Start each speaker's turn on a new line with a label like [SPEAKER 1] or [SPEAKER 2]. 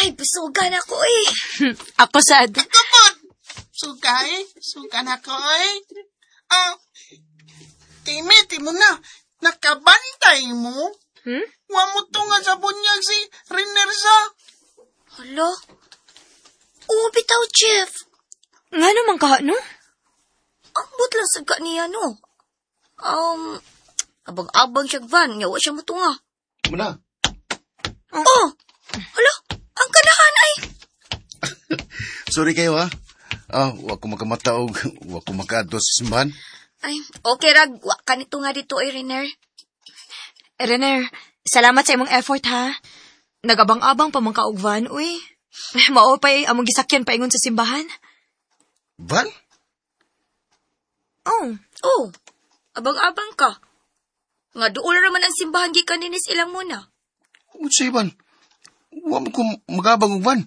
[SPEAKER 1] Ay, busugan ako eh.
[SPEAKER 2] Ako sad.
[SPEAKER 3] Kapod! Sugay, sugan ako eh. Ah, Timmy, mo na. Nakabantay mo?
[SPEAKER 2] Hmm?
[SPEAKER 3] Wa mo to nga sa bunyag si Riner sa.
[SPEAKER 1] Hala? Oo, bitaw, Jeff.
[SPEAKER 2] Nga naman ka, no?
[SPEAKER 1] Ambot lang sa ka niya, no? Abang-abang siya van, nga wa siya mutunga.
[SPEAKER 4] Muna.
[SPEAKER 1] Oh! Hala, ang kanahan ay.
[SPEAKER 4] Sorry kayo ha. Ah, wa ko makamata og wa ko makaadto sa simbahan.
[SPEAKER 1] Ay, okay rag, wa ka nito nga dito ay, Riner.
[SPEAKER 2] Renner, salamat sa imong effort ha. Nagabang-abang pa man ka og van, uy. Mao pa'y among gisakyan paingon sa simbahan.
[SPEAKER 4] Van?
[SPEAKER 2] Oh,
[SPEAKER 1] Oh, abang-abang ka. Nga duol raman ang simbahan gikan dinis ilang muna.
[SPEAKER 4] Unsa van? Wa mo ko magabang og van.